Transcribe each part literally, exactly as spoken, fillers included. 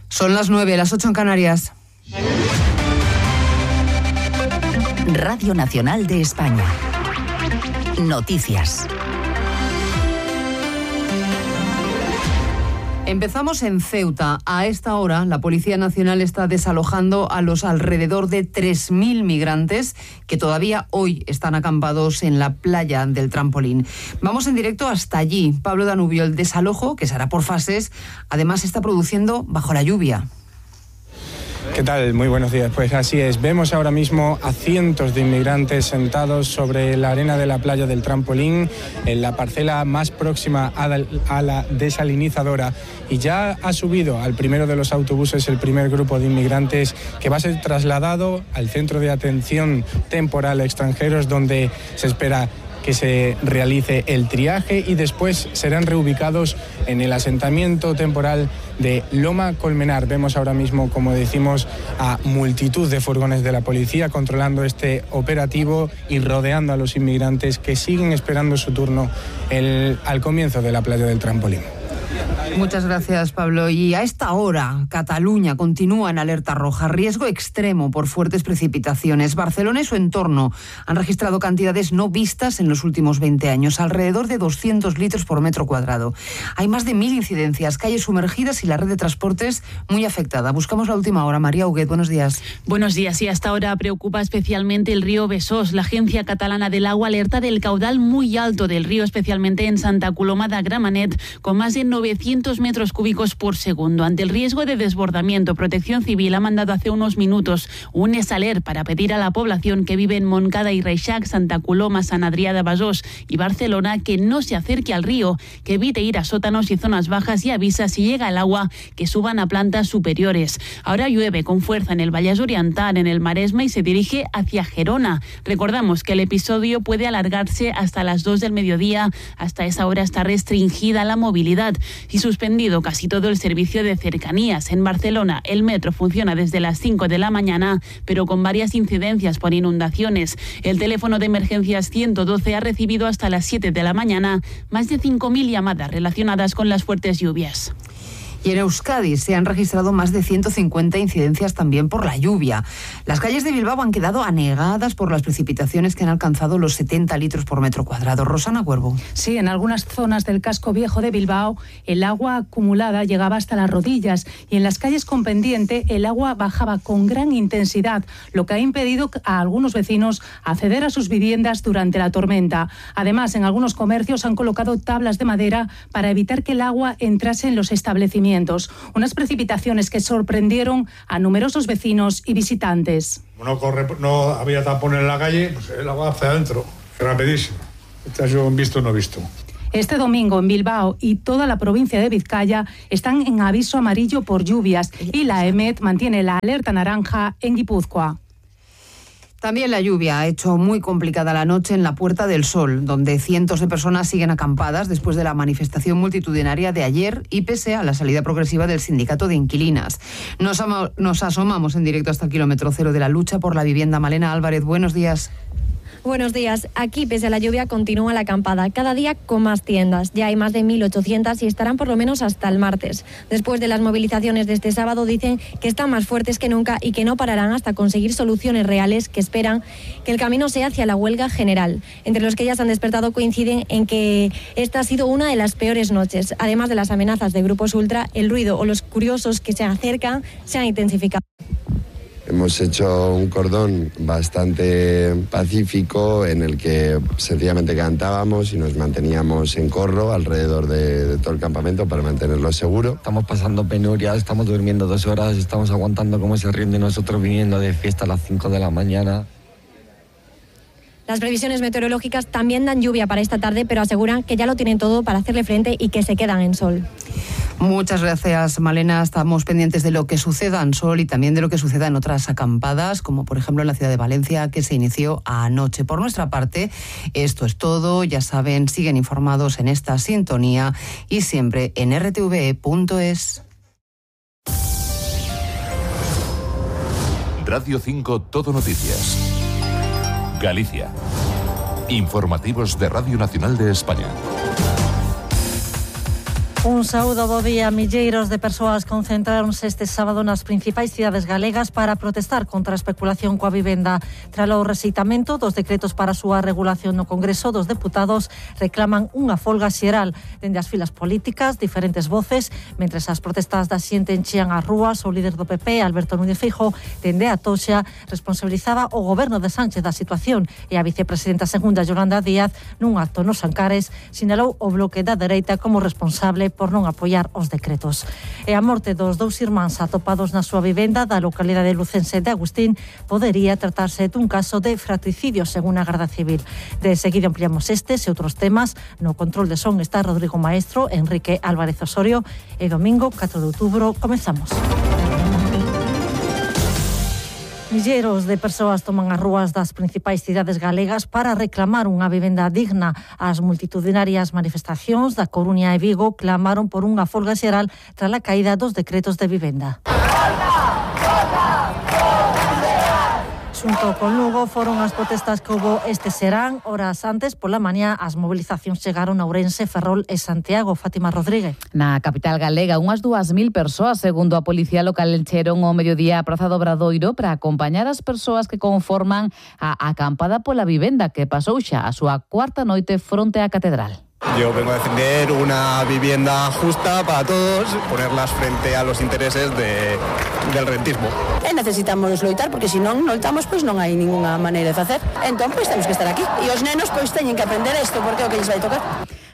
Son las nueve, las ocho en Canarias. Radio Nacional de España. Noticias. Empezamos en Ceuta. A esta hora, la Policía Nacional está desalojando a los alrededor de tres mil migrantes que todavía hoy están acampados en la playa del Trampolín. Vamos en directo hasta allí. Pablo Danubio, el desalojo, que se hará por fases, además se está produciendo bajo la lluvia. ¿Qué tal? Muy buenos días. Pues así es. Vemos ahora mismo a cientos de inmigrantes sentados sobre la arena de la playa del Trampolín, en la parcela más próxima a la desalinizadora. Y ya ha subido al primero de los autobuses el primer grupo de inmigrantes que va a ser trasladado al centro de atención temporal a extranjeros, donde se espera que se realice el triaje y después serán reubicados en el asentamiento temporal de Loma Colmenar. Vemos ahora mismo, como decimos, a multitud de furgones de la policía controlando este operativo y rodeando a los inmigrantes que siguen esperando su turno el, al comienzo de la playa del Trampolín. Muchas gracias, Pablo. Y a esta hora, Cataluña continúa en alerta roja, riesgo extremo por fuertes precipitaciones. Barcelona y su entorno han registrado cantidades no vistas en los últimos veinte años, alrededor de doscientos litros por metro cuadrado. Hay más de mil incidencias, calles sumergidas y la red de transportes muy afectada. Buscamos la última hora. María Huguet, buenos días. Buenos días. Y hasta ahora preocupa especialmente el río Besós. La Agencia Catalana del Agua alerta del caudal muy alto del río, especialmente en Santa Coloma de Gramenet, con más de novecientos metros cúbicos por segundo. Ante el riesgo de desbordamiento, Protección Civil ha mandado hace unos minutos un esaler para pedir a la población que vive en Montcada y Reixac, Santa Coloma, Sant Adrià de Besós y Barcelona que no se acerque al río, que evite ir a sótanos y zonas bajas y avisa si llega el agua que suban a plantas superiores. Ahora llueve con fuerza en el Vallès Oriental, en el Maresme y se dirige hacia Gerona. Recordamos que el episodio puede alargarse hasta las dos del mediodía. Hasta esa hora está restringida la movilidad y suspendido casi todo el servicio de cercanías. En Barcelona, el metro funciona desde las cinco de la mañana, pero con varias incidencias por inundaciones. El teléfono de emergencias ciento doce ha recibido hasta las siete de la mañana más de cinco mil llamadas relacionadas con las fuertes lluvias. Y en Euskadi se han registrado más de ciento cincuenta incidencias también por la lluvia. Las calles de Bilbao han quedado anegadas por las precipitaciones que han alcanzado los setenta litros por metro cuadrado. Rosana Cuervo. Sí, en algunas zonas del casco viejo de Bilbao el agua acumulada llegaba hasta las rodillas y en las calles con pendiente el agua bajaba con gran intensidad, lo que ha impedido a algunos vecinos acceder a sus viviendas durante la tormenta. Además, en algunos comercios han colocado tablas de madera para evitar que el agua entrase en los establecimientos. Unas precipitaciones que sorprendieron a numerosos vecinos y visitantes. No, corre, no había tapón en la calle, pues el agua hacia adentro, rapidísimo. Este ha sido un visto no visto. Este domingo en Bilbao y toda la provincia de Vizcaya están en aviso amarillo por lluvias y la E M E T mantiene la alerta naranja en Guipúzcoa. También la lluvia ha hecho muy complicada la noche en la Puerta del Sol, donde cientos de personas siguen acampadas después de la manifestación multitudinaria de ayer y pese a la salida progresiva del sindicato de inquilinas. Nos, ama, nos asomamos en directo hasta el kilómetro cero de la lucha por la vivienda. Malena Álvarez, buenos días. Buenos días. Aquí, pese a la lluvia, continúa la acampada, cada día con más tiendas. Ya hay más de mil ochocientas y estarán por lo menos hasta el martes. Después de las movilizaciones de este sábado, dicen que están más fuertes que nunca y que no pararán hasta conseguir soluciones reales, que esperan que el camino sea hacia la huelga general. Entre los que ya se han despertado coinciden en que esta ha sido una de las peores noches. Además de las amenazas de grupos ultra, el ruido o los curiosos que se acercan se han intensificado. Hemos hecho un cordón bastante pacífico en el que sencillamente cantábamos y nos manteníamos en corro alrededor de, de todo el campamento para mantenerlo seguro. Estamos pasando penurias, estamos durmiendo dos horas, estamos aguantando cómo se rinde nosotros viniendo de fiesta a las cinco de la mañana. Las previsiones meteorológicas también dan lluvia para esta tarde, pero aseguran que ya lo tienen todo para hacerle frente y que se quedan en sol. Muchas gracias, Malena. Estamos pendientes de lo que suceda en Sol y también de lo que suceda en otras acampadas, como por ejemplo en la ciudad de Valencia, que se inició anoche. Por nuestra parte, esto es todo. Ya saben, siguen informados en esta sintonía y siempre en r t v e punto es. Radio cinco Todo Noticias. Galicia. Informativos de Radio Nacional de España. Un saúdo bo día. Milleiros de persoas concentráronse este sábado nas principais cidades galegas para protestar contra a especulación coa vivenda. Tralo rexeitamento dos decretos para a súa regulación no Congreso dos Deputados, reclaman unha folga xeral. Dende as filas políticas, diferentes voces, mentres as protestas da xente enchían as rúas, o líder do P P, Alberto Núñez Feijóo, dende a Toxa, responsabilizaba o goberno de Sánchez da situación e a vicepresidenta segunda, Yolanda Díaz, nun acto nos Ancares, sinalou o bloque da dereita como responsable por non apoiar os decretos. E a morte dos dous irmáns atopados na súa vivenda da localidade lucense de Agustín podería tratarse dun caso de fratricidio, según a Garda Civil. De seguido ampliamos estes e outros temas. No control de son está Rodrigo Maestro, Enrique Álvarez Osorio, e domingo catro de outubro comezamos. Milleiros de persoas toman as rúas das principais cidades galegas para reclamar unha vivenda digna. As multitudinarias manifestacións da Coruña e Vigo clamaron por unha folga xeral tras a caída dos decretos de vivenda. Xunto con Lugo foron as protestas que houbo este serán. Horas antes, pola mañá, as movilizacións chegaron a Ourense, Ferrol e Santiago. Fátima Rodríguez. Na capital galega, unhas dúas mil persoas, segundo a Policía Local, encheron o mediodía a Praza do Obradoiro para acompañar as persoas que conforman a acampada pola vivenda, que pasou xa a súa cuarta noite fronte á Catedral. Yo vengo a defender una vivienda justa para todos, ponerlas frente a los intereses de, del rentismo. E necesitamos loitar, porque se non loitamos, pois non hai ninguna maneira de facer. Entón, pois temos que estar aquí. E os nenos, pois teñen que aprender isto, porque é o que lles vai tocar.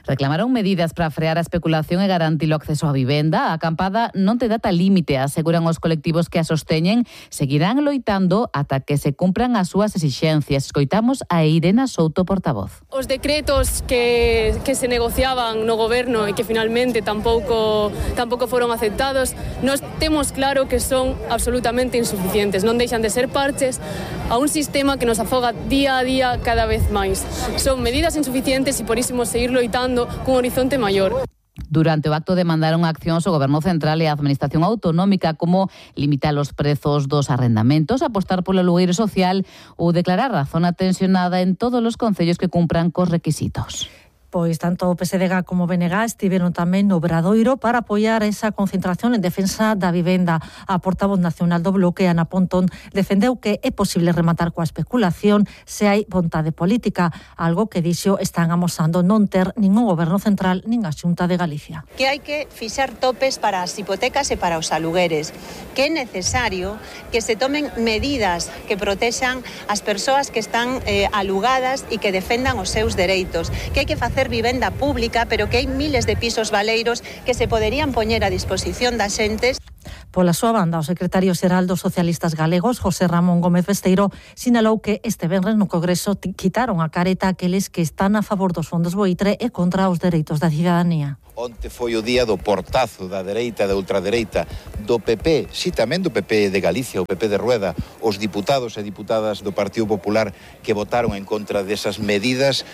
Reclamaron medidas para frear a especulación e garantir o acceso á vivenda. A acampada non te data límite, aseguran os colectivos que a sosteñen. Seguirán loitando ata que se cumpran as súas exixencias. Escoitamos a Irena Souto, portavoz. Os decretos que, que se negociaban no goberno e que finalmente tampouco, tampouco foron aceptados, nos temos claro que son absolutamente insuficientes. Non deixan de ser parches a un sistema que nos afoga día a día cada vez máis. Son medidas insuficientes e por iso seguir loitando cun horizonte maior. Durante o acto demandaron accións ao Goberno Central e a Administración Autonómica, como limitar os prezos dos arrendamentos, apostar polo alugueiro social ou declarar a zona tensionada en todos os concellos que cumpran cos requisitos. Pois tanto o P S D G como o B N G estiveron tamén no Obradoiro para apoiar esa concentración en defensa da vivenda. A portavoz nacional do bloque, Ana Pontón, defendeu que é posible rematar coa especulación se hai vontade política, algo que dixo están amosando non ter ningún goberno central nin a Xunta de Galicia. Que hai que fixar topes para as hipotecas e para os alugueres, que é necesario que se tomen medidas que protexan as persoas que están eh, alugadas e que defendan os seus dereitos, que hai que facer vivenda pública, pero que hai miles de pisos baleiros que se poderían poñer a disposición das xentes. Pola súa banda, o secretario xeral dos socialistas galegos, José Ramón Gómez Besteiro, sinalou que este venres no Congreso quitaron a careta aqueles que están a favor dos fondos buitre e contra os dereitos da cidadanía. Onte foi o día do portazo da dereita e da ultradereita, do P P, si tamén do P P de Galicia, o P P de Rueda, os diputados e diputadas do Partido Popular que votaron en contra desas medidas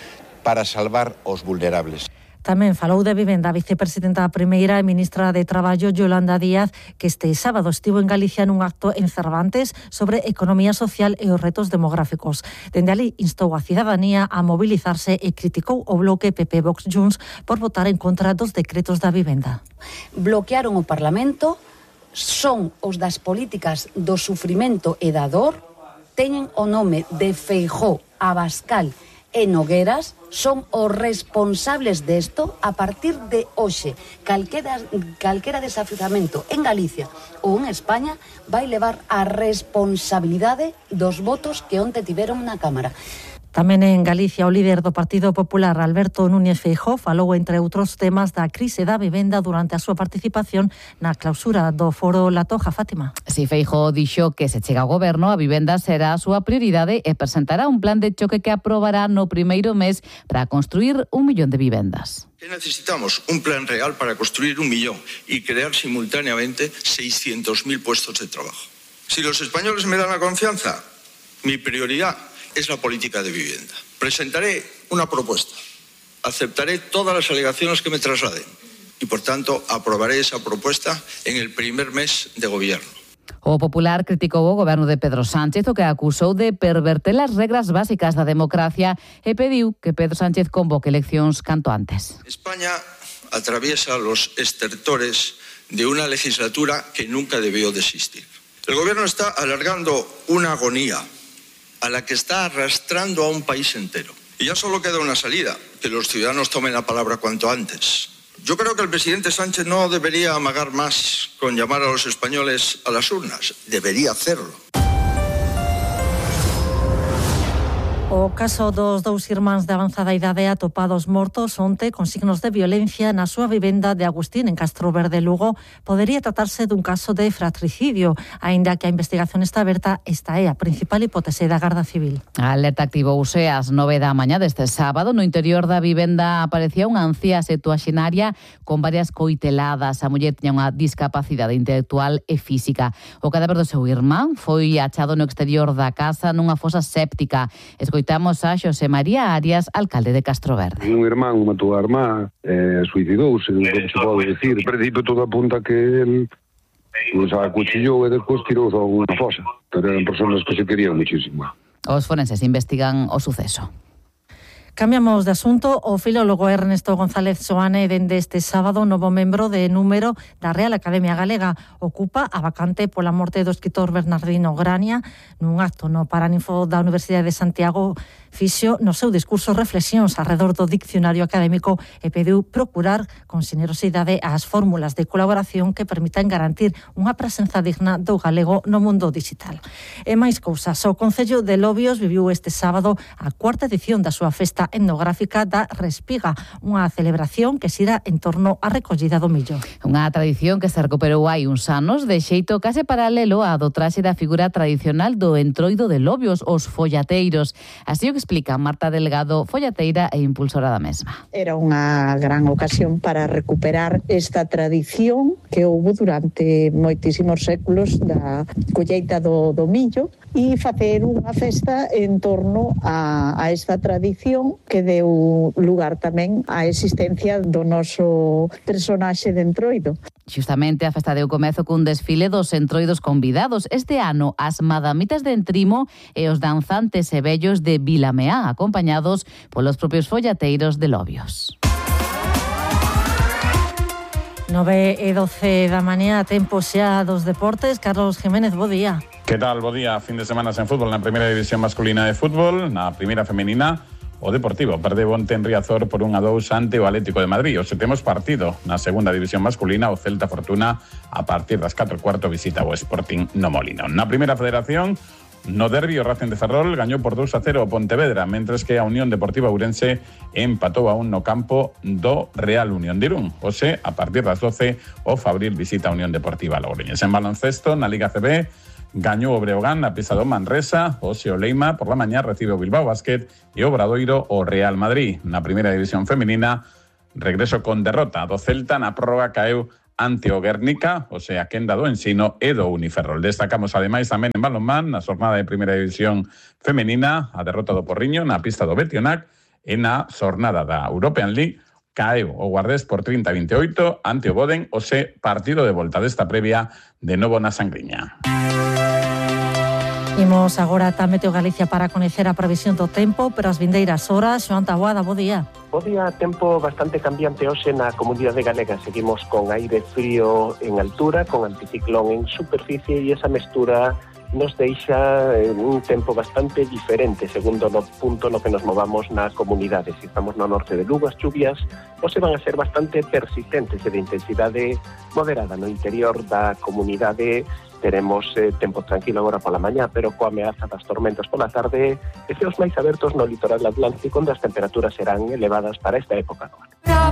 para salvar os vulnerables. Tamén falou de vivenda a vicepresidenta primeira e ministra de Traballo, Yolanda Díaz, que este sábado estivo en Galicia nun acto en Cervantes sobre economía social e os retos demográficos. Dende ali instou a cidadanía a mobilizarse e criticou o bloque P P Vox Junts por votar en contra dos decretos da vivenda. Bloquearon o Parlamento, son os das políticas do sufrimento e da dor, teñen o nome de Feijóo, Abascal e Nogueras, son os responsables desto. A partir de hoxe, calquera, calquera desafiuzamento en Galicia ou en España vai levar a responsabilidade dos votos que onte tiveron na Cámara. Tamén en Galicia, o líder do Partido Popular, Alberto Núñez Feijóo, falou, entre outros temas, da crise da vivenda durante a súa participación na clausura do Foro La Toja. Fátima. Si Feijóo dixo que se chega ao goberno, a vivenda será a súa prioridade e presentará un plan de choque que aprobará no primeiro mes para construir un millón de vivendas. Que necesitamos un plan real para construir un millón y crear simultáneamente seiscientos mil puestos de trabajo. Si los españoles me dan la confianza, mi prioridad es la política de vivienda. Presentaré una propuesta, aceptaré todas las alegaciones que me trasladen y, por tanto, aprobaré esa propuesta en el primer mes de gobierno. O Popular criticou o goberno de Pedro Sánchez, o que acusou de perverter as regras básicas da democracia e pediu que Pedro Sánchez convoque eleccións canto antes. España atraviesa los estertores de una legislatura que nunca debió de existir. El gobierno está alargando una agonía a la que está arrastrando a un país entero. Y ya solo queda una salida, que los ciudadanos tomen la palabra cuanto antes. Yo creo que el presidente Sánchez no debería amagar más con llamar a los españoles a las urnas. Debería hacerlo. O caso dos dous irmáns de avanzada idade atopados mortos onte con signos de violencia na súa vivenda de Agustín en Castro Verde, Lugo, podería tratarse dun caso de fratricidio, aínda que a investigación está aberta. Esta é a principal hipótese da Garda Civil. A alerta activouse ás nove da mañá deste sábado. No interior da vivenda aparecía unha anciá septuaxenaria con varias coiteladas. A muller tiña unha discapacidade intelectual e física. O cadáver do seu irmán foi achado no exterior da casa nunha fosa séptica. Escoitamos a Xosé María Arias, alcalde de Castro Verde. Un irmán matou a irmá, eh, suicidouse, como se pode decir. En principio todo apunta que el pues, acuchillou e despois tirou a unha fosa. Pero eran personas que se querían muchísimo. Os forenses investigan o suceso. Cambiamos de asunto. O filólogo Ernesto González Soane, dende este sábado, novo membro de número da Real Academia Galega, ocupa a vacante pola morte do escritor Bernardino Grania. Nun acto no Paraninfo da Universidade de Santiago, fixo no seu discurso reflexións arredor do diccionario académico e pediu procurar con xenerosidade as fórmulas de colaboración que permitan garantir unha presenza digna do galego no mundo digital. E máis cousas, o Concello de Lobios viviu este sábado a cuarta edición da súa festa etnográfica da Respiga, unha celebración que xira en torno á recollida do millo. Unha tradición que se recuperou hai uns anos de xeito case paralelo á do traxe da figura tradicional do entroido de Lobios, os follateiros. Así o que explica Marta Delgado, follateira e impulsora da mesma. Era unha gran ocasión para recuperar esta tradición que houve durante moitísimos séculos da colleita do, do millo e facer unha festa en torno a, a esta tradición que deu lugar tamén á existencia do noso personaxe de entroido. Xustamente a festa deu comezo cun desfile dos entroidos convidados. Este ano as madamitas de Entrimo e os danzantes e vellos de Vilameá, acompañados polos propios follateiros de Lobios. nove e doce da mañá, tempo xa dos deportes. Carlos Jiménez, bo día. Que tal, bo día. Fin de semana sen fútbol na primeira división masculina de fútbol. Na primeira femenina, o Deportivo perdeu onte en Riazor por un a dous ante o Atlético de Madrid. Hoxe temos partido na segunda división masculina. O Celta Fortuna a partir das catro e cuarto visita o Sporting no Molinón. Na primeira federación, no derbi o Racing de Ferrol gañou por dous a cero o Pontevedra, mentres que a Unión Deportiva Ourense empatou a un no campo do Real Unión de Irún. Hoxe, a partir das doce, o Fabril visita a Unión Deportiva Logroñés. En baloncesto, na Liga C B, gañou o Breogán na pista do Manresa. Hoxe o Leima por la mañá recibe o Bilbao Basket e o Obradoiro o Real Madrid. Na primeira división femenina, regreso con derrota do Celta, na prórroga caeu ante o Guernica, o sea, quenda do Ensino e do Uniferrol. Destacamos ademais tamén en balonmán, na xornada de primeira división femenina, a derrota do Porriño na pista do Betionac e na xornada da European League caeu o Guardés por trinta a veintioito ante o Boden, o se partido de volta desta previa de novo na Sangriña. Imos agora ata Meteo Galicia para coñecer a previsión do tempo, pero as vindeiras horas. Xoan Taboada, bo día. Bo día, tempo bastante cambiante hoxe na comunidade galega. Seguimos con aire frío en altura, con anticiclón en superficie e esa mestura nos deixa un tempo bastante diferente segundo no punto no que nos movamos na comunidade. Se estamos no norte de Lugo, as chuvias hoxe van a ser bastante persistentes e de intensidade moderada. No interior da comunidade teremos eh, tempo tranquilo agora pola mañá, pero coa ameaza das tormentas pola tarde e ceos máis abertos no litoral atlántico, onde as temperaturas serán elevadas para esta época do ano.